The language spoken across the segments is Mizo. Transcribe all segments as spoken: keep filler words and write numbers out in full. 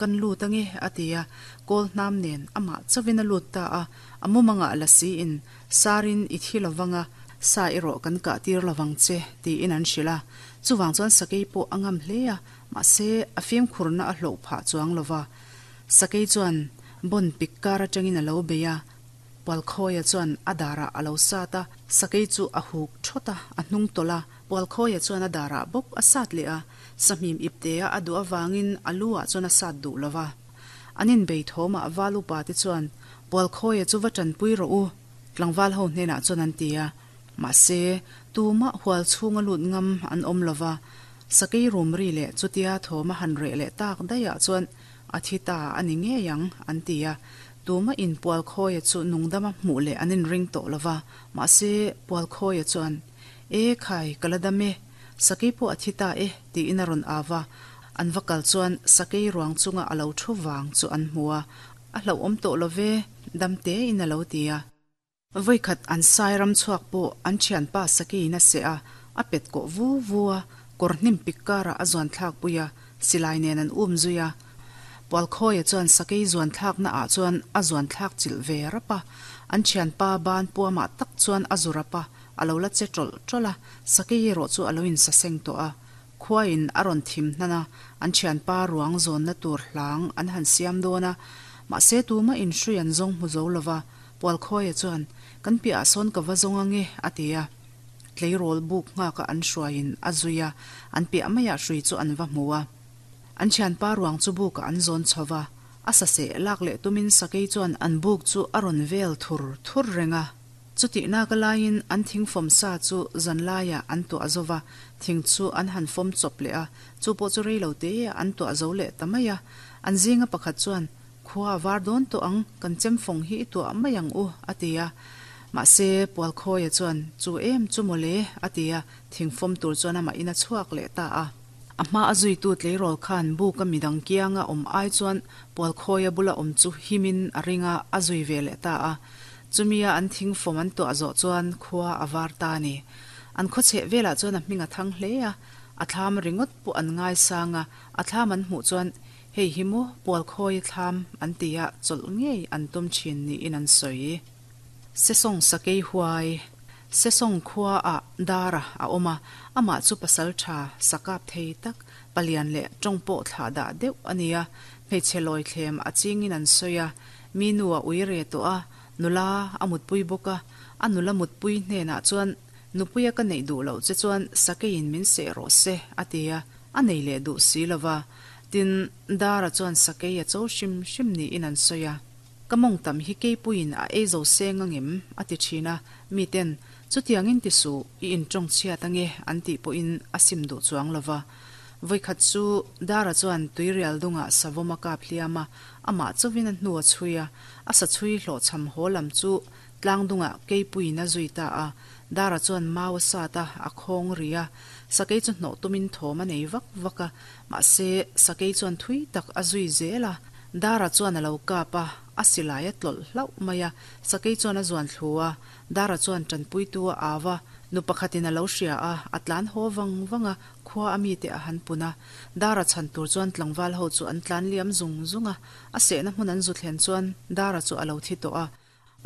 Kan lut ange, a ti a, kawl hnam nen amah chauhin a lut ta a, a mumangah lasi in sarin i thi lovang a, sa erawh kan kah tir lovang che, tiin an hrilh a. Chuvang chuan sakei pawh a ngam hle a, mahse a fimkhurna a hloh phah chuang lova. Sakei chuan bon pik kar atangin a lo bei a, Pualkhawia chuan a darah a lo sat a, sakei chu a huk thawt a, a hnung tawlh a, Pualkhawia chuan a darah bawk a sat leh a, sahmim iptea a duh avangin a lu ah chuan a sat duh lo va. An inbei thawmah val upa te chuan, Pualkhawia chu va tanpui rawh u, tlangval ho hnenah chuan an ti a. Mahse, tumah hual chhunga lut ngam an awm lo va, sakei rum ri leh chutia thawm a han reh leh tak daihah chuan a thi ta a ni ngei ang, an ti a. Tumah in Pualkhawia chu nungdama hmuh leh an inring tawh lo va, mahse, Pualkhawia chuan, E khai, ka la dam e, sakei pawh a thi ta e, tiin a rawn au va. An va kal chuan sakei ruang chunga a lo thu vang chu an hmu a, a hlauhawm tawh lo ve, dam tein a lo ti a. Vawikhat an sai ram chhuak pawh an thianpa sakeiin a seh a, a pet kawh vu vu a, kawr hnim pik karah a zuan thlak pui a, silai nen an um zui a. Pualkhawia chuan sakei zuan thlakna ah chuan a zuan thlak chilh ve rap a, an thianpa ban puamah tak chuan a zu rap a, a lo la che tawlh tawlh a, sakei erawh chu a lo insaseng tawh a. Khuain a rawn thim hnan a, an thianpa ruang zawnna tur hlang an han siam dawn a, mahse tumah inhrui an zawng hmu zo lo va, Pualkhawia chuan, Kan piahah sawn ka va zawng ange, a ti a. Tleirawl buk nghaka an hruaiin a zui a, an piah maiah hrui chu an va hmu a. An thianpa ruang chu bukah an zawn chho va, a saseh lak leh tumin sakei chuan an buk chu a rawn vel thur thur reng a. Chutihna ka laiin an thing fawm sa chu zan laiah an tuah zo va, thing chu an han fawm chawp leh a, chu pawh chu rei lo te an tuah zo leh ta mai a. An zinga pakhat chuan, Khua a var dawn tawh ang, kan chemfawng hi i tuah mai ang u, a ti a. Mahse, Pualkhawia chuan, Chu em chu maw le, a ti a, thingfawm tur chuan amah in a chhuak leh ta a. A hma a zuitu tleirawl khan buka midang kianga awm ai chuan Pualkhawia bula awm chu himin a ring a, a zui ve leh ta a. Chumia an thingfawm an tuah zawh chuan khua a var ta a ni. An khawchheh velah chuan a hming a thang hle a, a thlam ringawt pawh an ngaisang a, a thlam an hmuh chuan Hei hi maw Pualkhawia thlam an ti a, chawlh ngei an tum thin niin an sawi. Sesawng Sakei Huai, Sesawng khua ah Dara a awm a, amah chu pasal tha, sakap thei tak, palian leh tawng pawh thlah dah deuh a ni a, hmeichhe lawi thlem a chingin an sawi a, mi nu a ui re tawh a, nula a mutpui bawk a, a nula mutpui hnenah chuan Nupuia ka neih duh loh che chuan sakeiin min seh rawh se, a ti a, a nei leh duh si lo va. Tin, Dara chuan sakei a cho hrim hrim niin an sawi a. Ka mawng tam hi keipuiin a ei zo seng angem? a ti thin a. Miten, Chutiangin ti suh, i intawng chhiat ange, an tih pawhin a sim duh chuang lo va. Vawikhat chu Dara chuan tuirial dungah savawm a kap hliam a, amah chauhin a hnu a chhui a, a sa chhui hlawhchham haw lam chu tlang dungah keipuiin a zui ta a. Dara chuan mau a sat a, a khawng ri a. Sakei chu hnawh tumin thawm a nei vak vak a, mahse sakei chuan thui tak a zui zel a. Dara chuan a lo kap a, a silai a tlawlh hlauh mai a. Sakei chuan a zuan thlu a, Dara chuan tanpuitu a au a, nu pakhatin a lo hria a, a tlan haw vang vang a, khua a mite a han pun a. Dara chhan tur chuan tlangval ho chu an tlan liam zung zung a, a sehna hmun an zu thlen chuan Dara chu a lo thi tawh a.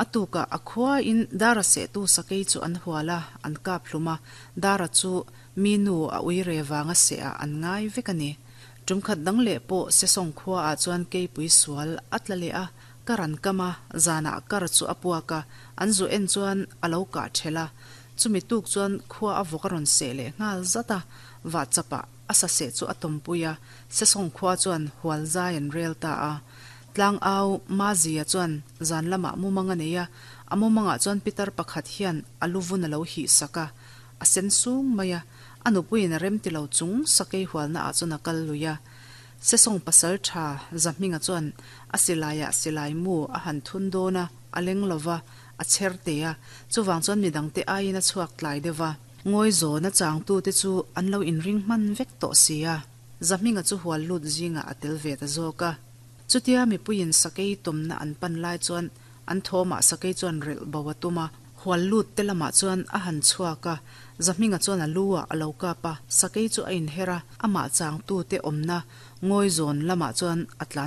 A tukah a khuain Dara sehtu sakei chu an hual a, an kap hlum a, Dara chu mi nu a ui re vanga sehah an ngai vek a ni. Tum khat dang leh pawh Sesawng khuaah chuan keipui sual a tla leh a, kar an kam a, zanah kar chu a puak a, an zu en chuan a lo kah ṭhelh a. Chumi tuk chuan khua a vawk a rawn seh leh nghal zat a, vahchapah a sa seh chu a tawmpui a, Sesawng khua chuan hual zai an rel ta a. Tlangau Mazia chuan zan lamah mumang a nei a, a mumangah chuan pitar pakhat hian a lu vun a lo hih sak a, a sen sung mai a, a nupuiin a rem ti lo chung sakei hualna ah chuan a kal lui a. Sesawng pasal tha Zahminga chuan a silaiah silai mu a han thun dawn a, a leng lo va, a chher te a, chuvang chuan midangte aiin a chhuak tlai deuh va. Ngawi zawna changtute chu an lo inring hman vek tawh si a, Zahminga chu hual lut zingah a tel ve ta zawk a. Chutia mipuiin sakei tawmna an pan lai chuan an thawmah sakei chuan relh bo a tum a, Khual lut te lamah chuan a han chhuak a, Zahminga chuan a lu ah a lo kap a, sakei chu a inher a, amah changtu te awmna ngawi zawn lamah chuan a tlan